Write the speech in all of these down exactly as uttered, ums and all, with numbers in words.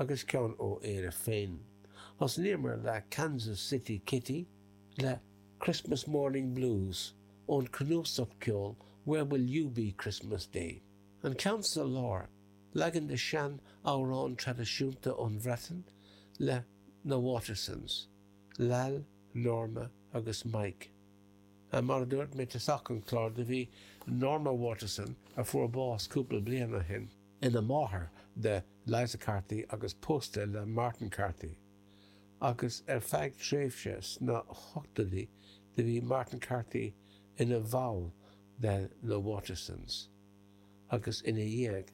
Agus ceann ó Éire féin. Thosnaíomar le Kansas City Kitty le Christmas Morning Blues ón cnuasach ceoil Where Will You Be Christmas Day? An ceann sa lár, leagan de sean-amhrán traidisiúnta ón Bhreatain le na Watersons, Lal, Norma agus Mike. Mar a dúirt mé tosach an chláir, do bhí Norma Waterson, a fuair bás cúpla bliain ó shin, ina máthair de Liza Carthy agus pósta le Martin Carthy, agus ar feadh tréimhse sna hochtóidí do bhí Martin Carthy ina bhall de na Watersons, agus ina dhiaidh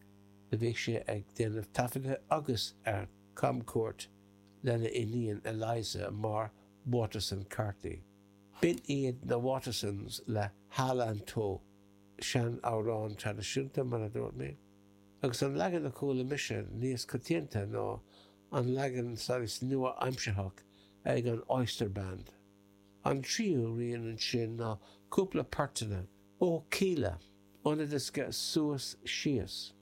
do bhí sé ag déanamh taifeadta agus ar camchuairt lena iníon Eliza mar Waterson Carthy. B'in iad na Watersons le Hal-an-Tow, sean-amhrán traidisiúnta mar a dúirt mé, agus an leagan a chuala mise níos coitianta ná an leagan saghas nua-aimsearthach ag an Oyster Band. An tríú rian ansin ná cúpla portanna ó Kíla, óna diosca Suas Síos.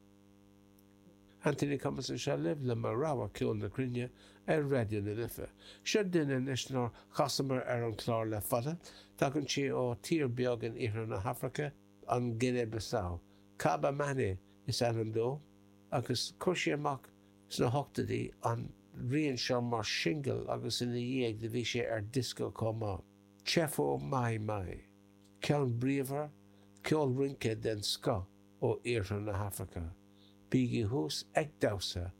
Anthony Cummins anseo libh le mo rogha ceol na cruinne ar Raidió na Life. Seo duine anois nár chasamar ar an chlár le fada, tagann sé ó tír beag in iarthar na hAfraice, an Guinea-Bissau. Kaba Manneh is ainm dó, agus chuir sé amach sna hochtóidí an rian seo mar singil agus ina dhiaidh do bhí sé ar diosca chomh maith. Tchefo Mai Mai. Ceann bríomhar, ceol rince den scoth ó iarthar na hAfraice. Bígí thuas ag damhsa